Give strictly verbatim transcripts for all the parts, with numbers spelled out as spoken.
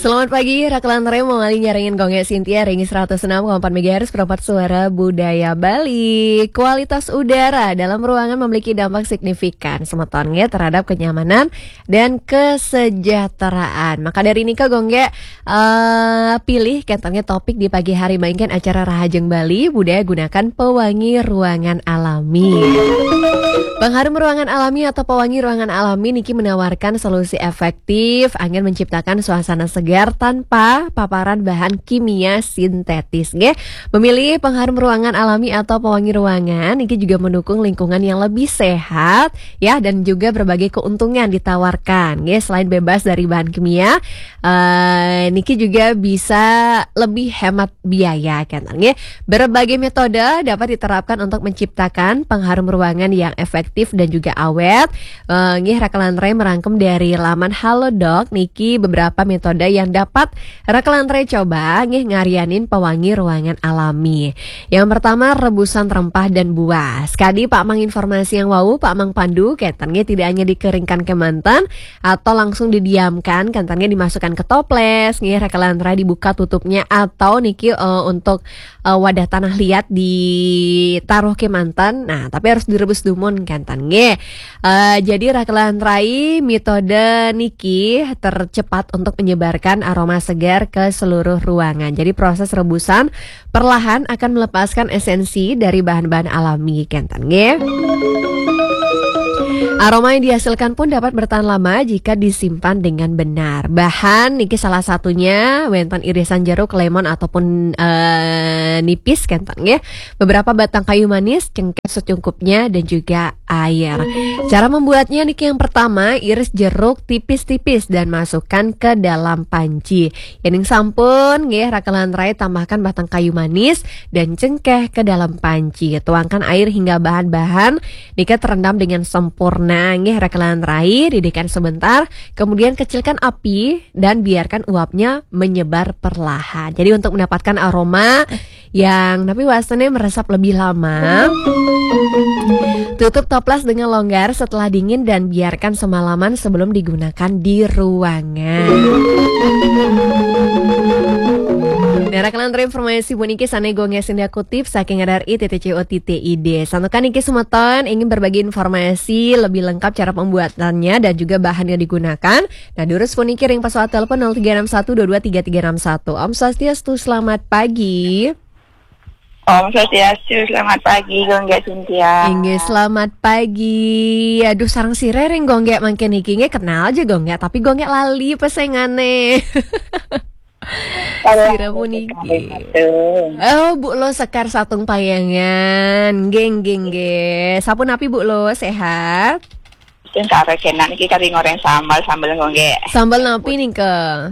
Selamat pagi, Rakelan Remo, malih nyarengin Gung Gé Sintia ring seratus enam koma empat megahertz, perempat suara budaya Bali. Kualitas udara dalam ruangan memiliki dampak signifikan, semeton nggih, terhadap kenyamanan dan kesejahteraan. Maka dari nika Gung Gé, eh, pilih kénten nggih topik di pagi hari, mangkin acara Rahajeng Bali, budaya gunakan pewangi ruangan alami. Pengharum ruangan alami atau pewangi ruangan alami niki menawarkan solusi efektif anggén menciptakan suasana segar tanpa paparan bahan kimia sintetis, nggih. Memilih pengharum ruangan alami atau pewangi ruangan niki juga mendukung lingkungan yang lebih sehat, ya, dan juga berbagai keuntungan ditawarkan, nggih. Selain bebas dari bahan kimia, eh, niki juga bisa lebih hemat biaya, kan, nggih. Berbagai metode dapat diterapkan untuk menciptakan pengharum ruangan yang efektif dan juga awet. Eh, nggih, Rakelan Rai merangkum dari laman Halodoc niki beberapa metode yang dapat Rakelan Rai coba, nggih, ngarianin pewangi ruangan alami. Yang pertama, rebusan rempah dan buah. Sekadi Pak Mang informasi yang wau, Pak Mang Pandu, kénten nggih, tidak hanya dikeringkan kémanten atau langsung didiamkan, kénten nggih, dimasukkan ke toples, nggih, Rakelan Rai, dibuka tutupnya, atau niki, eh, untuk, eh, wadah tanah liat ditaruh kémanten. Nah, tapi harus direbus dumun, kénten nggih. Eh, jadi Rakelan Rai, metode niki tercepat untuk menyebarkan aroma segar ke seluruh ruangan. Jadi proses rebusan perlahan akan melepaskan esensi dari bahan-bahan alami, kénten nggih. Aroma yang dihasilkan pun dapat bertahan lama jika disimpan dengan benar. Bahan niki salah satunya wénten irisan jeruk, lemon ataupun, eh, nipis, kénten nggih. Beberapa batang kayu manis, cengkeh secukupnya, dan juga air. Cara membuatnya niki, yang pertama, iris jeruk tipis-tipis dan masukkan ke dalam panci. Yéning sampun, nggih, Rakelan Rai tambahkan batang kayu manis dan cengkeh ke dalam panci. Tuangkan air hingga bahan-bahan nika terendam dengan sempurna, nggih, Rakelan Rai, didihkan sebentar, kemudian kecilkan api dan biarkan uapnya menyebar perlahan. Jadi untuk mendapatkan aroma yang tapi wastannya meresap lebih lama, tutup toples dengan longgar setelah dingin dan biarkan semalaman sebelum digunakan di ruangan. Nah, Rakelan Rai, informasi puniki sané Gung Gé Sintia kutip saking R R I titik co titik I D. Santukan niki semeton ingin berbagi informasi lebih lengkap cara pembuatannya dan juga bahan yang digunakan. Nah, durus puniki ring pesoat telepon nol tiga enam satu dua dua tiga tiga enam satu. Om Swastiastu, selamat pagi. Om Swastiastu, selamat pagi, Gung Gé Sintia. Inggih, selamat pagi. Aduh, sareng sira ring Gung Gé mangkin niki, nggih, kenal aja Gung Gé, tapi Gung Gé lali pesengané. Sira puniki. Oh, Bu Lo Sekar saking Payangan. Nggih, nggih, nggih. Sapunapi, Bu Lo, sehat? Sing karo kénak niki kari ngoréng sambel, sambel Gung Gé. Sambel napi nika?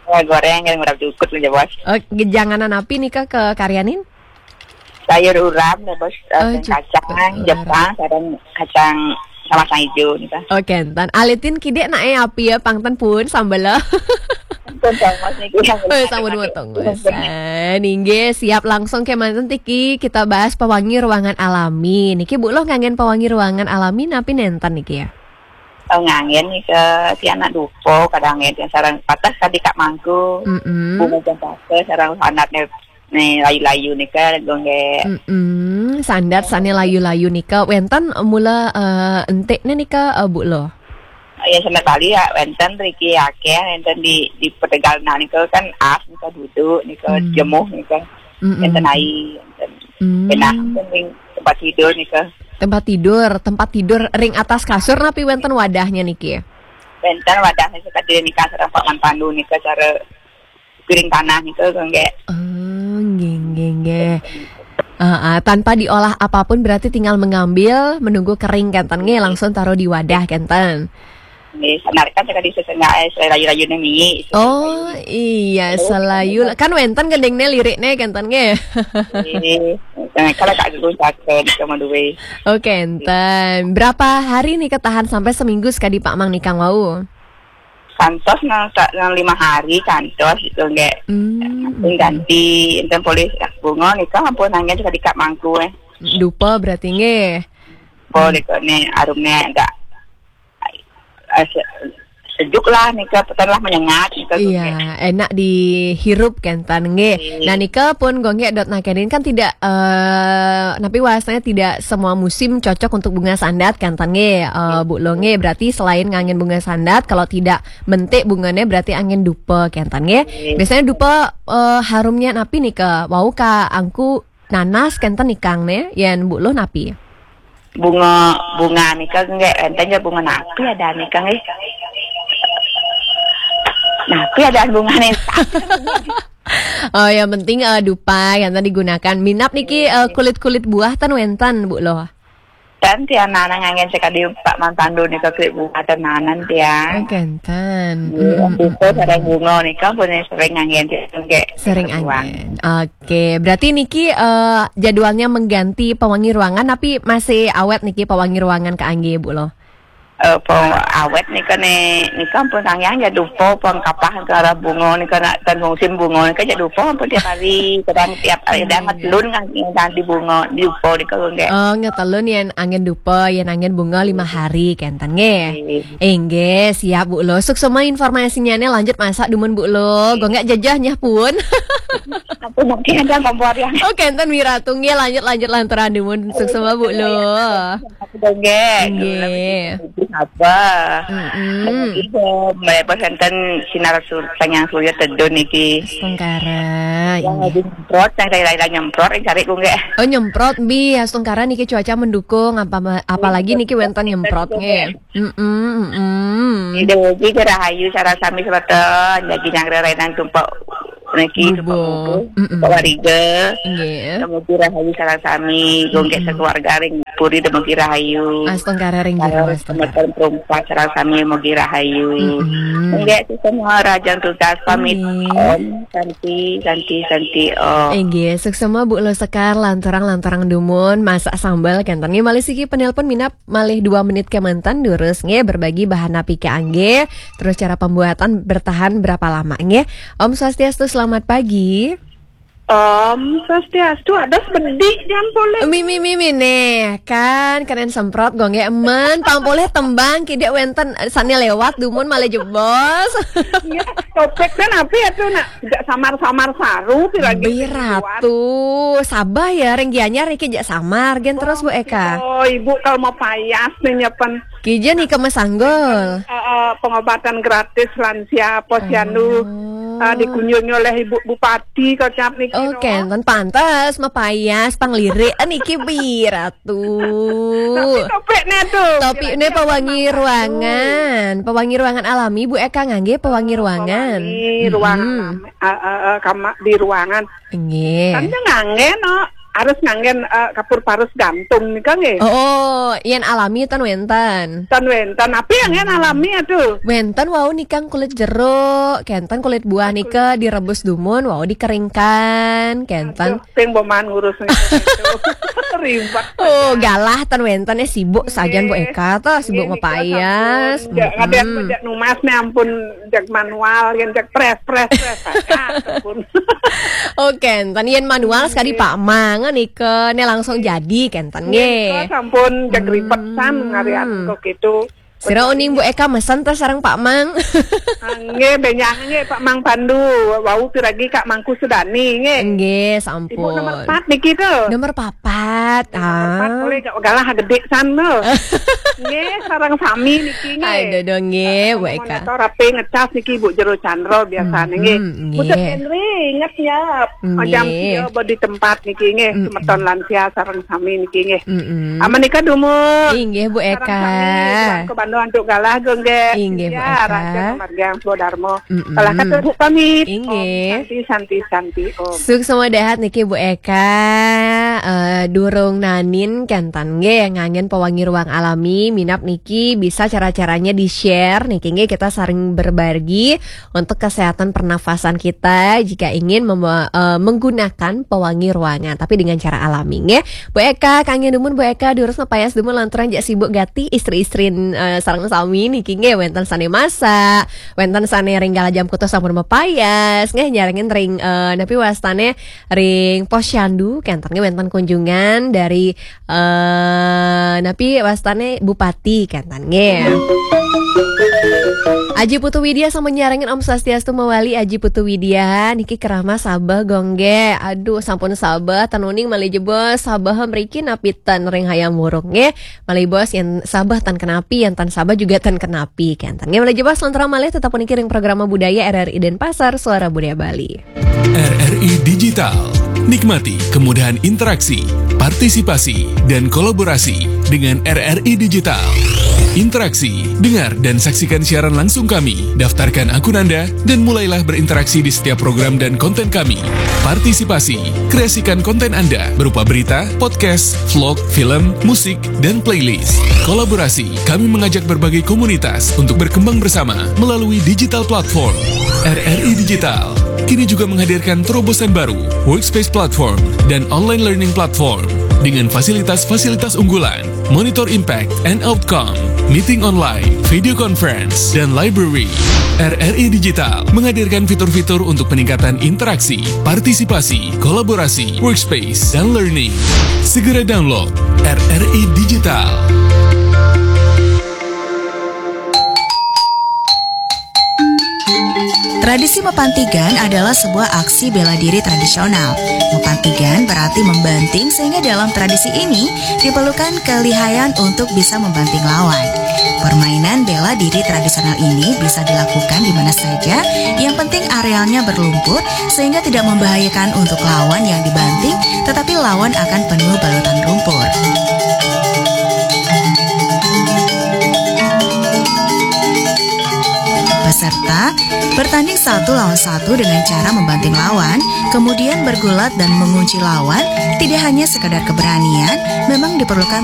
Ya, goréng kan ngurap jukut aja, Bos. Oh, janganan napi nika kekaryanin? Sayur urap, ya, Bos. Eh, Oh, sayur cukup kacang, urap. Jepang, sareng kacang sama kacang ijo nika. Oh, kénten. Alitin kidik nak, eh, api ya, pang ten pun sambel. Pun, Bos, niki. Oh, sampun motong, Bos. Ah, inggih, siap, langsung kémanten niki kita bahas pewangi ruangan alami. Niki Bu Lo nganggén pewangi ruangan alami napi nénten niki ya? Oh, nganggén nika, tiang nak dupa, kadang nggih tiang sareng patah kadi Kak Mangku. Mm-mm. Bunga cempaka sareng sanat né, né layu-layu nika, Gung Gé. Mm-mm. Sandat sané layu-layu nika wénten mula, eh, entikné nika, eh, Bu Lo? Ya, sandat Bali ya wénten riki akéh, wénten di, di Petegal nah nika kan as nika, duduk nika, Hmm. jemuh nika. Mm-mm. Wénten ai, wénten Hmm. pénah, wénten ring tempat tidur nika. Tempat tidur, tempat tidur ring atas kasur napi wénten wadahnya niki? Wénten wadahnya, nika sareng Pak Mang Pandu nika cara piring tanah nika, Gung Gé. Oh, nggih, nggih, nggih. Ah, ah, tanpa diolah apapun, berarti tinggal mengambil, menunggu kering, kénten nggih, langsung taruh di wadah, kénten. Nggih, sanarikan sakadi sesengak, eh, layu-layuné mie. Oh, iya, selayu. Kan wénten gendingné lirikné, kénten nggih. Nggih. Nah, kalau Kak Gung Cakep sama duwe. Oh, kénten. Berapa hari nih ketahan, sampai seminggu sekadi Pak Mang nikang wau? Kantos nang, nang lima hari kantos gitu, nggih. Hmm. Ganti, enten polih bunga nika ampun nanggen sakadi Kak Mangku, eh. Dupa berarti nggih. Apa Hmm. nika né aromné agak, eh, se-, sejuk lah nika, petang lah menyengat nika. Iya, enak dihirup kenten nggih. Iya. Nah, nika pun Gung Gek dot nakenin kan tidak, eh, napi wastane tidak semua musim cocok untuk bunga sandat kenten nggih, eh, Bu Lo nggih. Berarti selain nganggen bunga sandat, kalau tidak mentik bungane berarti anggen dupa kenten nggih. Iya. Biasanya dupa, eh, harumnya napi nika? Wau ka angku nanas kenten nikang ne, yen Bu Lo napi? Bunga, bunga nika nggih, enten ya bunga napi ada nika nggih. Napi ada bunga nih. Oh, yang penting, eh, dupa yang tadi digunakan. Minap niki, eh, kulit-kulit buah ten wenten, Bu Lo? Ten tiang nana nganggen sekadi Pak Mantandu nika kulit buah ten nanan tiang. Oh, kenten. Iya, mm, mm, dupa mm, sareng bunga nika pun sering nganggen tiang nggih. Sering anggen. Oke, berarti niki, eh, jadwalnya mengganti pewangi ruangan, tapi masih awet niki pewangi ruangan kaangge, Bu Lo? Eh, po-, awet nika ne, nika ampun sangyang ya dupa pun kapah ke arah bunga nika nak ten musim bunga nika ya dupa ampun tiap hari, kadang tiap hari, iya, kadang iya, ngetelun kan ganti bunga, dupa nika nggih. Oh, ngetelun yen anggen dupa, yen anggen bunga lima hari kenten nggih. Iya. Inggih, siap Bu Lo. Suksma informasinya ne, lanjut masak dumun Bu Lo. Iya. Gung Gek jejeh nyah pun. Aku mungkin ada kompor yang. Oh, kenten Wiratu nggih, lanjut, lanjut lantaran dumun. Suksma Bu Lo. Aku dongeng. Nggih. Apa? Mm-mm. Nggih, melepas enten sinar sur-, panjang surya tedun niki. Astungkara, ya, inggih. Nyemprot, yang saya lain nyemprot, yang cari gue nggih. Oh, nyemprot, bi, astungkara niki cuaca mendukung, apa, apalagi niki wenten nyemprot nggih. Mm-mm, mm-mm. Ida Wiji rahayu sareng sami semeton, daging yang rerenan tumpek niki, tumpek bubu, mm-mm, tumpek wariga. Nggih. Dumugi rahayu sareng sami, Gung Gek, mm-mm, sekeluarga ring puri dumugi rahayu. Astungkara ring jero, astungkara. Semeton perumpat sareng sami mugi rahayu. Mm-mm. Nggih, semua rahayu tugas pamit. Nggih. Om Santi, Santi, Santi, Om. Inggih, suksma Bu Lo Sekar, lanturang-lanturang dumun, masak sambal kenten nggih. Malih siki penelpon minap malih dua menit kemanten, durus nggih, berbagi bahan napi kaangge, terus cara pembuatan bertahan berapa lama nggih. Om Swastiastu, selamat pagi. Om Swastiastu, ada sebedik jam boleh. Mimi, mimi nih, kan keren semprot Gung Gek men, pang polih tembang kidik wenten, eh, sane lewat dumun malih jebos. Iya, topik kan apa ya tuh nak? Tidak samar-samar saru, pi lagi. Bi Ratu, sabar ya, ring Gianyar niki jak samar, gen terus Bu Eka. Oh, Ibu kalau mau payas nih nyepen. Kija nika mesanggul. Eh, eh, pengobatan gratis lansia posyandu, oh, eh, dikunjungi oleh Ibu Bupati kocap niki. Oh, no. Kenten pantes mapayas panglirik niki Bi Ratu. Tapi topiknya tuh. Topiknya kira-kira pewangi ruangan. Pewangi ruangan alami, Bu Eka ngangge pewangi ruangan. Pewangi ruangan alami, eh, eh, eh, kama-, di ruangan. Nggih. Kan dia ngangge, no. Harus nganggen, eh, kapur parus gantung nika nggih. Oh, oh, yen alami ten wenten. Ten wenten. Tapi yang yen alami aduh. Wenten wau nikang kulit jeruk, kenten kulit buah nika direbus dumun, wau dikeringkan, kenten. Aduh, sing boman ngurus nika itu. Ribet. Oh, galah ten wenten, eh, sibuk sajan Bu Eka to, sibuk mapayas. Nggih, nika sampun. Jak, kadang jak numas nih ampun, jak manual, yang jak pres, pres, pres. Sampun. Oh, kenten yen manual sekali Pak Mang nika ne langsung jadi kenten nggih. Nika sampun jak ribet san ngarian kok gitu. Sira uning Bu Eka mesen terus sareng Pak Mang. Ah, nggih, benjang nggih Pak Mang Pandu. Wau piragi Kak Mangku Sudani nggih. Nggih, sampun. Ibu nomor empat niki tuh. Nomor papat. Nomor empat, ah, boleh gak galah gede san tuh. Nggih, sareng sami niki nggih. Aduh, nggih, Bu Eka. Monitor rapi ngecas niki Bu Jero Chandra biasanya nggih. Mm-mm, nggih. Bu Cek Henry inget ya. Nggih. Jam sia di tempat niki nggih, mm-mm, semeton lansia sareng sami niki nggih. Mm-mm. Aman nika dumun. Inggih, Bu Eka. Sareng sami, ke Bandung antuk galah nggih. Inggih, Bu Eka. Raja kemargiang Swadarma. Mm-mm. Salah kata Bu pamit. Inggih. Om Santi, Santi, Santi, Om. Suksma dahat niki Bu Eka, eh, durung nanin kenten nggih nganggen pewangi ruang alami, minap niki bisa cara-caranya di-share niki nggih, kita saling berbagi untuk kesehatan pernafasan kita jika ingin mem-, eh, menggunakan pewangi ruangan, tapi dengan cara alami nggih. Bu Eka, kangge dumun Bu Eka, durus mapayas dumun lantaran jak sibuk gati istri-istrin, eh, sareng sami niki nggih, wenten sane masak, wenten sane ring galah jam kutus sampun mapayas nggih, nyarengin ring, eh, napi wastane ring posyandu, kenten nggih wenten kunjungan dari, eh, napi wastane Bupati, kenten nggih. Aji Putu Widya sampun nyarengin. Om Swastiastu mawali Aji Putu Widya. Niki kerama sabeh gongge. Aduh, sampun sabeh, ten uning malih jebos sabeh mriki napi ten ring hayam wuruk nggih. Malih bos yen sabeh ten kenapi, yen ten sabeh juga ten kenapi. Kenten nggih malih jebos, lontra malih tetap puniki ring programa budaya R R I Denpasar, Suara Budaya Bali. R R I Digital. Nikmati kemudahan interaksi, partisipasi, dan kolaborasi dengan R R I Digital. Interaksi, dengar dan saksikan siaran langsung kami. Daftarkan akun Anda dan mulailah berinteraksi di setiap program dan konten kami. Partisipasi, kreasikan konten Anda berupa berita, podcast, vlog, film, musik, dan playlist. Kolaborasi, kami mengajak berbagai komunitas untuk berkembang bersama melalui digital platform. R R I Digital kini juga menghadirkan terobosan baru, Workspace Platform dan Online Learning Platform, dengan fasilitas-fasilitas unggulan, Monitor Impact and Outcome, Meeting Online, Video Conference, dan Library. R R I Digital menghadirkan fitur-fitur untuk peningkatan interaksi, partisipasi, kolaborasi, workspace, dan learning. Segera download R R I Digital. Tradisi Mepantigan adalah sebuah aksi bela diri tradisional. Mepantigan berarti membanting, sehingga dalam tradisi ini diperlukan kelihayan untuk bisa membanting lawan. Permainan bela diri tradisional ini bisa dilakukan di mana saja, yang penting arealnya berlumpur sehingga tidak membahayakan untuk lawan yang dibanting, tetapi lawan akan penuh balutan lumpur. Peserta bertanding satu lawan satu dengan cara membanting lawan, kemudian bergulat dan mengunci lawan. Tidak hanya sekadar keberanian, memang diperlukan